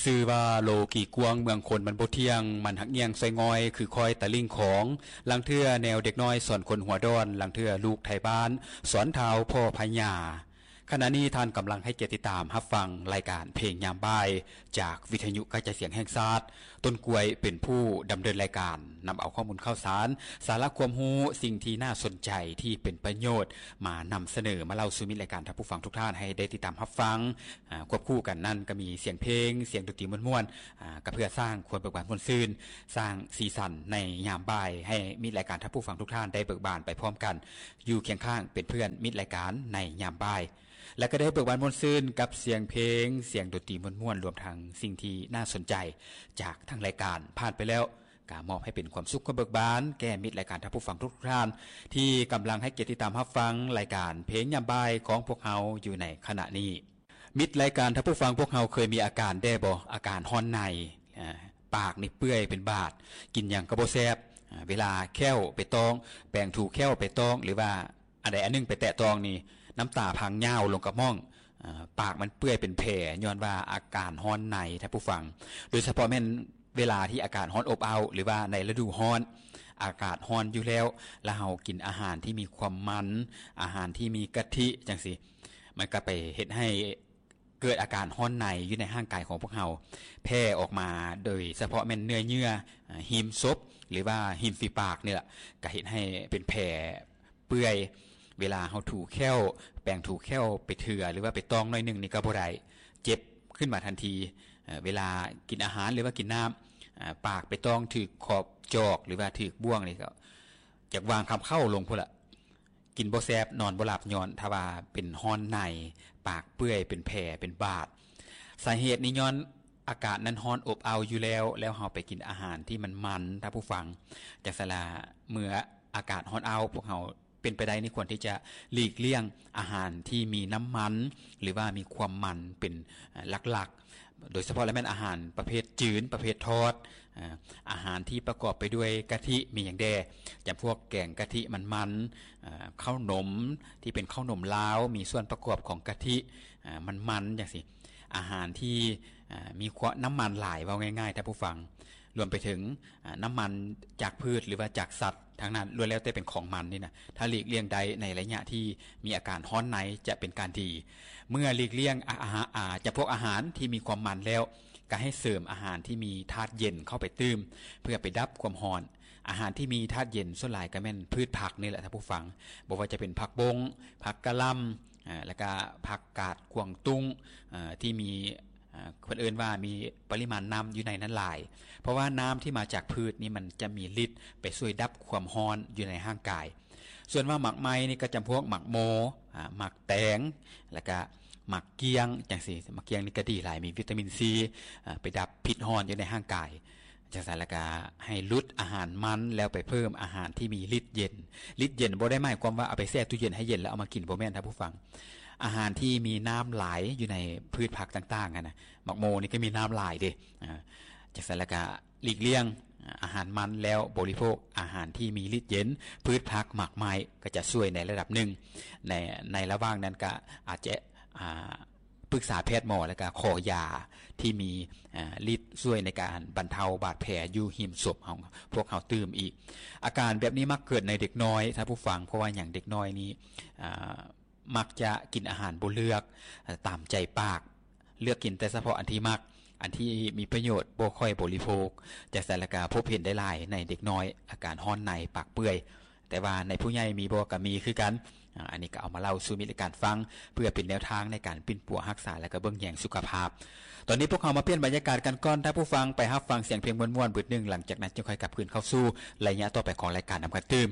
ຊື່ວ່າໂລກີກວ້າງເມືອງຄົນມັນບໍ່ທ່ຽງ ມັນຫັກຍ່ຽງຊ່ອຍງ່ອຍຄືຄອຍຕະລິ່ງຂອງ ລາງເທື່ອແນວເດັກນ້ອຍສອນຄົນຫົວດອນ ລາງເທື່ອລູກໄທບ້ານສອນທ້າວພໍ່ພະຍາ. ຂະນະນີ້ທ່ານກຳລັງໃຫ້ກຽດຕິດຕາມຮັບຟັງລາຍການເພງຍາມບ່າຍ ຈາກວິທະຍຸກະຈາຍສຽງແຫ່ງຊາດ. ຕົ້ນກ້ວຍເປັນຜູ້ດຳເນີນລາຍການ, ນຳເອົາຂໍ້ມູນຂ່າວສານ, ສາລະຄວາມຮູ້, ສິ່ງທີ່ໜ້າສົນໃຈ, ທີ່ເປັນປະໂຫຍດ ມານຳສະເໜີ, ມາເລົ່າສູ່ມິດລາຍການທ່ານຜູ້ຟັງທຸກທ່ານໃຫ້ໄດ້ຕິດຕາມຮັບຟັງ. ອາ ຄວບຄູ່ກັນນັ້ນກໍມີສຽງເພງ, ສຽງດົນຕີມ່ວນໆ, ອາ ກໍເພື່ອສ້າງຄວາມເບີກບານມ່ວນຊື່ນ, ສ້າງສີສັນໃນຍາມບ່າຍ ໃຫ້ມິດລາຍການທ່ານຜູ້ຟັງທຸກທ່ານໄດ້ເບີກບານໄປພ້ອມກັນ, ຢູ່ຄຽງຂ້າງເປັນເພື່ອນມິດລາຍການໃນຍາມບ່າຍ ແລະ ກໍໄດ້ເບີກບານມ່ວນຊື່ນກັບສຽງເພງ, ສຽງດົນຕີມ່ວນໆ, ລວມທັງສິ່ງທີ່ໜ້າສົນໃຈຈາກທາງລາຍການ. ຜ່ານໄປແລ້ວ ກະມອບໃຫ້ເປັນຄວາມສຸກຄວາມເບີກບານແກ່ມິດລາຍການທ່ານຜູ້ຟັງທຸກໆທ່ານ ທີ່ກຳລັງໃຫ້ກຽດຕິດຕາມຮັບຟັງລາຍການເພງຍາມບ່າຍຂອງພວກເຮົາຢູ່ໃນຂະນະນີ້. ມິດລາຍການທ່ານຜູ້ຟັງ, ພວກເຮົາເຄີຍມີອາການແດ່ບໍ່? ອາການຮ້ອນໃນ, ອາ ປາກນີ້ເປື່ອຍເປັນບາດ, ກິນຫຍັງກໍບໍ່ແຊບ, ອາ ເວລາແຂ້ວໄປຕ້ອງ, ແປງຖູແຂ້ວໄປຕ້ອງ ຫຼືວ່າ ອັນໃດອັນໜຶ່ງໄປແຕະຕ້ອງນີ້ ນ້ຳຕາພັງຍາວລົງກະໝ້ອງ, ອາ ປາກມັນເປື່ອຍເປັນແຜ ຍ້ອນວ່າອາການຮ້ອນໃນທ່ານຜູ້ຟັງ. ໂດຍສະເພາະແມ່ນເວລາທີ່ອາກາດຮ້ອນອົບເອົ້າ ຫຼືວ່າໃນລະດູຮ້ອນ ອາກາດຮ້ອນຢູ່ແລ້ວ ແລ້ວເຮົາກິນອາຫານທີ່ມີຄວາມມັນ, ອາຫານທີ່ມີກະທິຈັ່ງຊີ້ ມັນກໍໄປເຮັດໃຫ້ ເກີດອາການຮ້ອນໃນຢູ່ໃນຮ່າງກາຍຂອງພວກເຮົາ ແຜ່ອອກມາ ໂດຍສະເພາະແມ່ນເນື້ອເຍື່ອ ອາ ຮິມສົບ ຫຼືວ່າລິມຝີປາກນີ້ລະ ກະເຮັດໃຫ້ເປັນແຜເປື່ອຍ. ເວລາເຮົາຖູແຂ້ວ ແປງຖູແຂ້ວໄປເທື່ອ ຫຼືວ່າໄປຕ້ອງໜ້ອຍໜຶ່ງນີ້ກໍບໍ່ໄດ້ ເຈັບຂຶ້ນມາທັນທີ. ເອີ ເວລາກິນອາຫານ ຫຼືວ່າກິນນ້ຳ ອາ ປາກໄປຕ້ອງຖືກຂອບຈອກ ຫຼືວ່າຖືກບ່ວງນີ້ ກໍຢາກວາງຄຳເຄົ້າລົງພຸ້ນລະ. ກິນບໍ່ແຊບ ນອນບໍ່ຫຼັບ ຍ້ອນຖ້າວ່າເປັນຮ້ອນໃນ ປາກເປື່ອຍ ເປັນແຜ ເປັນບາດ. ສາເຫດນີ້ຍ້ອນອາກາດນັ້ນຮ້ອນອົບເອົ້າຢູ່ແລ້ວ ແລ້ວເຮົາໄປກິນອາຫານທີ່ມັນມັນ ທ່ານຜູ້ຟັງ. ຈັ່ງຊັ້ນລະ ເມື່ອອາກາດຮ້ອນເອົ້າ ພວກເຮົາເປັນໄປໄດ້ນີ້ຄວນທີ່ຈະຫຼີກລ່ຽງອາຫານທີ່ມີນ້ຳມັນ ຫຼືວ່າມີຄວາມມັນເປັນ ເອີ ຫຼັກໆ. ໂດຍສະເພາະແລ້ວແມ່ນອາຫານປະເພດຈືນ, ປະເພດທອດ, ອາ ອາຫານທີ່ປະກອບໄປດ້ວຍກະທິ ມີຫຍັງແດ່? ຈຳພວກແກງກະທິມັນໆ, ອາ ເຂົ້າໜົມທີ່ເປັນເຂົ້າໜົມລາວ ມີສ່ວນປະກອບຂອງກະທິ ອາ ມັນໆ ຈັ່ງຊີ້. ອາຫານທີ່ ອາ ມີຄວາມ ນ້ຳມັນຫຼາຍ ເວົ້າງ່າຍໆ ທ່ານຜູ້ຟັງ, ລວມໄປເຖິງ ອາ ນ້ຳມັນຈາກພືດ ຫຼືວ່າຈາກສັດ ທັງນັ້ນ ລ້ວນແລ້ວແຕ່ເປັນຂອງມັນນີ້ນະ. ຖ້າຫຼີກລ່ຽງໄດ້ໃນໄລຍະທີ່ມີອາການຮ້ອນໃນ ຈະເປັນການດີ. ເມື່ອຫຼີກລ່ຽງ ອາ ອາຫາ ອາ ຈຳພວກອາຫານທີ່ມີຄວາມມັນແລ້ວ ກໍໃຫ້ເສີມອາຫານທີ່ມີທາດເຢັນເຂົ້າໄປຕື່ມ ເພື່ອໄປດັບຄວາມຮ້ອນ. ອາຫານທີ່ມີທາດເຢັນສ່ວນຫຼາຍກໍແມ່ນພືດຜັກນີ້ແຫຼະທ່ານຜູ້ຟັງ, ບໍ່ວ່າຈະເປັນຜັກບົ້ງ, ຜັກກະຫຼ່ຳ, ອາ ແລ້ວກະຜັກກາດກວາງຕຸ້ງ ອາ ທີ່ມີ ອາ ເພິ່ນເອີ້ນວ່າມີປະລິມານນ້ຳຢູ່ໃນນັ້ນຫຼາຍ, ເພາະວ່ານ້ຳທີ່ມາຈາກພືດນີ້ມັນຈະມີລິດໄປຊ່ວຍດັບຄວາມຮ້ອນຢູ່ໃນຮ່າງກາຍ. ສ່ວນວ່າໝາກໄມ້ນີ້ກໍຈຳພວກໝາກໂມ, ອາ ໝາກແຕງ ແລ້ວກະໝາກກ້ຽງຈັ່ງຊີ້. ໝາກກ້ຽງນີ້ກໍດີຫຼາຍ, ມີວິຕາມິນຊີ ອາ ໄປດັບພິດຮ້ອນຢູ່ໃນຮ່າງກາຍ. ຈັ່ງຊັ້ນແລ້ວກະໃຫ້ຫຼຸດອາຫານມັນ ແລ້ວໄປເພີ່ມອາຫານທີ່ມີລິດເຢັນ. ລິດເຢັນບໍ່ໄດ້ໝາຍຄວາມວ່າເອົາໄປແຊ່ຕູ້ເຢັນໃຫ້ເຢັນແລ້ວເອົາມາກິນ, ບໍ່ແມ່ນທ່ານຜູ້ຟັງ. ອາຫານທີ່ມີນ້ຳຫຼາຍຢູ່ໃນພືດຜັກຕ່າງໆຫັ້ນນະ, ໝາກໂມນີ້ກໍມີນ້ຳຫຼາຍເດ້. ອາ ຈັ່ງຊັ້ນແລ້ວກະຫຼີກລ່ຽງອາຫານມັນ ແລ້ວບໍລິໂພກອາຫານທີ່ມີລິດເຢັນ, ພືດຜັກ ໝາກໄມ້ ກໍຈະຊ່ວຍໃນລະດັບໜຶ່ງ. ໃນ ໃນລະຫວ່າງນັ້ນກະອາດຈະ ອາ ປຶກສາແພດໝໍ ແລ້ວກະຂໍຢາທີ່ມີ ອາ ລິດຊ່ວຍໃນການບັນເທົາບາດແຜຢູ່ຮິມສົບຂອງພວກເຮົາຕື່ມອີກ. ອາການແບບນີ້ມັກເກີດໃນເດັກນ້ອຍທ່ານຜູ້ຟັງ. ເພາະວ່າຫຍັງ? ເດັກນ້ອຍນີ້ ອາ ມັກຈະກິນອາຫານບໍ່ເລືອກ ເອີ ຕາມໃຈປາກ, ເລືອກກິນແຕ່ສະເພາະອັນທີ່ມັກ, ອັນທີ່ມີປະໂຫຍດບໍ່ຄ່ອຍບໍລິໂພກ. ຈັ່ງຊັ້ນແລ້ວກະພົບເຫັນໄດ້ຫຼາຍໃນເດັກນ້ອຍ ອາການຮ້ອນໃນ ປາກເປື່ອຍ. ແຕ່ວ່າໃນຜູ້ໃຫຍ່ມີບໍ່? ກໍມີຄືກັນ. ອາ ອັນນີ້ກໍເອົາມາເລົ່າສູ່ມິດລາຍການຟັງ ເພື່ອເປັນແນວທາງໃນການປິ່ນປົວຮັກສາ ແລະ ກໍເບິ່ງແຍງສຸຂະພາບ. ຕອນນີ້ພວກເຮົາມາປ່ຽນບັນຍາກາດກັນກ່ອນ, ທ່ານຜູ້ຟັງໄປຮັບຟັງສຽງເພງມ່ວນໆບຶດໜຶ່ງ, ຫຼັງຈາກນັ້ນຈຶ່ງຄ່ອຍກັບຄືນເຂົ້າສູ່ໄລຍະຕໍ່ໄປຂອງລາຍການນຳກັນຕື່ມ.